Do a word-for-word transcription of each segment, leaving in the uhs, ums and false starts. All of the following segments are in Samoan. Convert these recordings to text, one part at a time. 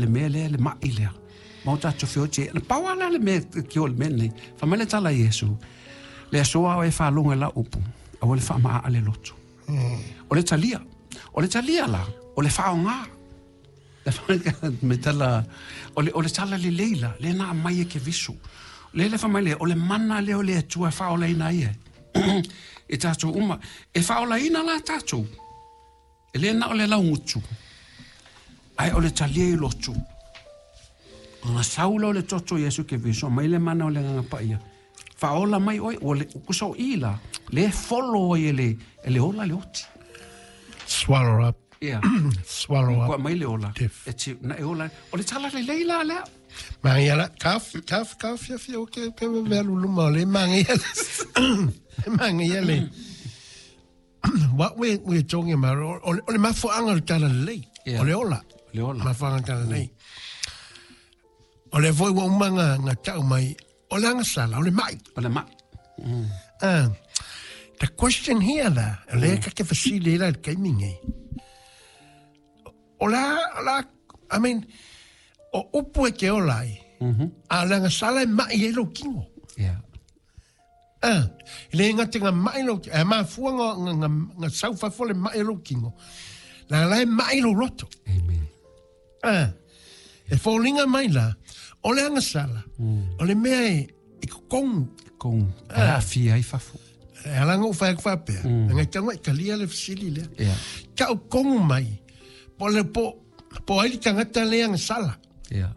Le mea lea le ma'i lea ma o tatou feoti ai. Na pau lava lea le mea e o le mea lenei. Fai mai le tala a Iesu, le aso a oe e faalogo i lau upu, aua le faamaaa le loto. O le talia. O le talia la, o le faaaoga. Me tala, o le, o le tala lelei la, lea na aumai e Keriso. Le le fai mai lea, o le mana lea o le Atua e faaolaina ai e. E tatou uma. E faaolaina la tatou. E le na o le laugutu, ae o le talia i lotu. Ona sau lea o le toto o Iesu Keriso, mai le mana o le Agaga Paia. Faaola mai oe, ua le, kusa o i la, le folo ai e le, e le ola le oti. Swallow up. Yeah. Swallow up. Kua mai le ola. Death. E ti, na e ola. O le tala lelei la lea. Mangia la, ka, ka, ka fia fia o ke, ke me alu luma o le mangia. Mangia le. What we, we're talking about, o, o, o le mafuaaga o le tala lelei. Yeah. O le ola. O le ola. Mafuaaga o le tala lelei. O le foi ua uma nga, nga tau mai, o le agasala, o le mai. O le mai. Uh, the question here la, o le ka ke fesili la le taimi nei. O la, o la, I mean, o upu e ke ola ai, a o le agasala e mai ai lou tino. Yeah. Ah, le ngate nga mai lou, e mafua nga, nga, nga, nga sau fafo le mai lou tino. La la e mai lou loto. Amen. Ah, e foliga mai la, o le agasala, o le mea e, e kokongu. Kong. A fia ai fafo. E ala ngou whai whapea. Mm. Ngai taunga i talia le fesili lea. Yeah. Tau kongu mai, po le po, po ai le tangata le agasala. Yeah.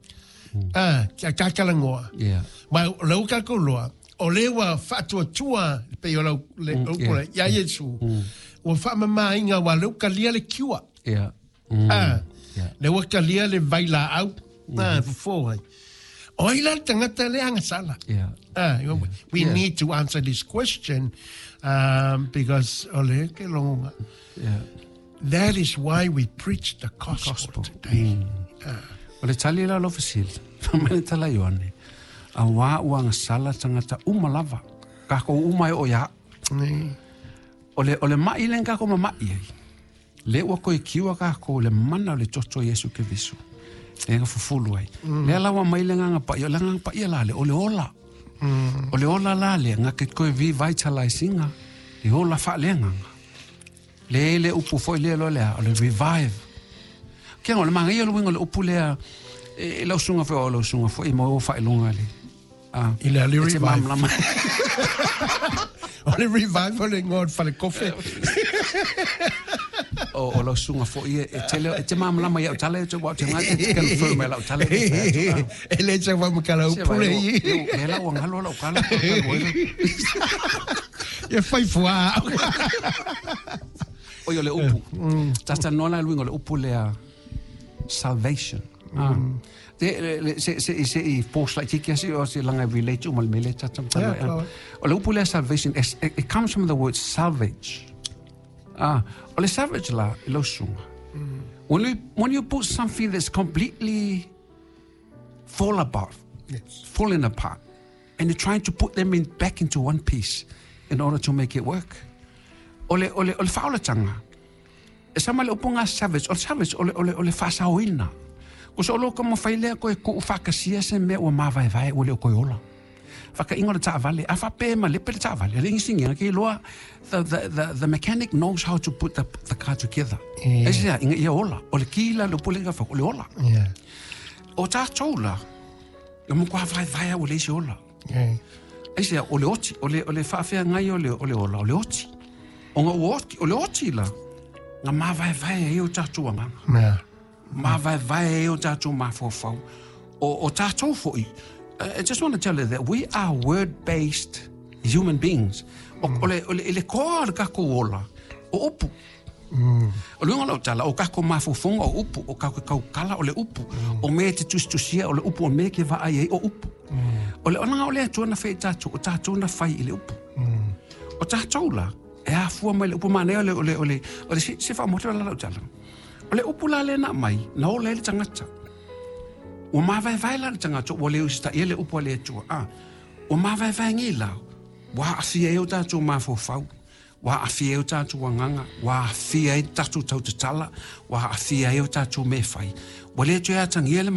Ah, kia kakalangoa. Yeah. Ma o lau kako loa, o le ua faatuatua, pe o lau, le, mm, yeah. ia Iesu, ua faamamaina ua leu kalia le kiua. Yeah. Mm. Ah, Yeah. le ua kalia le vai la au, ah, fofo ai. O ai la le tangata le agasala. Yeah. Ah, we we Yeah. need to answer this question um, because ole ke longa. Yeah. That is why we preach the gospel, Gospel. today. O le tali la lo fesili. Fai mai le tala Ioane. A wā ua agasala tagata uma lava. Kako uma e o ia. Mm. O le, o le mai le kako ma mai ai. Le ua koe kiua kako le mana o le toto Iesu Keriso. Le nga fufulu ai. Le la ua mai le nganga paia. O le nganga paia la le, o le ola. O le ola la le, nga ke koe revitalizinga. Le ola fa le nganga. Le le upu foi le lo lea, o le revive. Kia o le manga ia luinga o le upu lea, e, e lau sunga foi o lau sunga foi, e mo o whaelonga le. Ah, I le ali e te revive. mamlama. O le revive o le ngoa o le fale kofe. O, o lau sunga foi e, e te leo, e te mamlama ia o tale, e te wau te ngā, e te confirm e lau tale. E le tau wamukala Se upu vai, le o, i. le lau angalo lau kala, kala, kala, Ia fai fua. O le upu. Tata nola luinga o le upu lea salvation. Ah. Te le- le- se se se i force like tiki se o se langa relate uma le mele tata Yeah, claro. O le upu lea salvation is, it, it comes from the word salvage. Ah, o le salvage la i lau sunga. When you when you put something that's completely fall apart, Yes. falling apart, and you're trying to put them in back into one piece in order to make it work. O le o le o le faolatanga. E sama le upunga savage, o le savage o le o le o le faasaoina. Ko so lo ka mo failea koe ku whakasia se mea ua mavaevae ua le o koe ola. Whakainga o le taavale, a whape ma lepe le taavale. Le ingisingi, ke loa, the, the, the, the mechanic knows how to put the, the car together. Yeah. E sea, inga ia ola. O le kila le upulenga whak, o le ola. Yeah. O tātou la, le mo kua vaevaea ua le isi ola. Yeah. E sea, o le oti, o le, o le whaafea ngai o le, o le ola, o le oti. O ngā ua oti, o le oti la, ngā mavaevae e o tātou anganga. Yeah. Mavaevae e o tātou mafaufau. O, o tātou foi. I just want to tell you that we are word-based human beings. O, o le, o le, i le koa o le kako ola, o upu. O le unga lau tala, o kako mafaufonga o upu, o kako kaukala o le upu, o mea te tusitusia o le upu, o mea ke vaai ai o upu. O le onanga o le atua na whai tātou, o tātou na whai i le upu. O tātou la, e afua mai le upu manea o le, o le, o le, o le se, se whamote la lau tala. O le upu la le na mai, na o le le tangata. Ua mavaevae la le tangata, ua le usita ia le upu a le atua. Ah, ua mavaevae ngi lau, ua awhia e o tātou mafaufau, ua awhia e o tātou anganga, ua awhia e tātou tautatala, ua awhia e o tātou me whai. Ua le atua e atangia le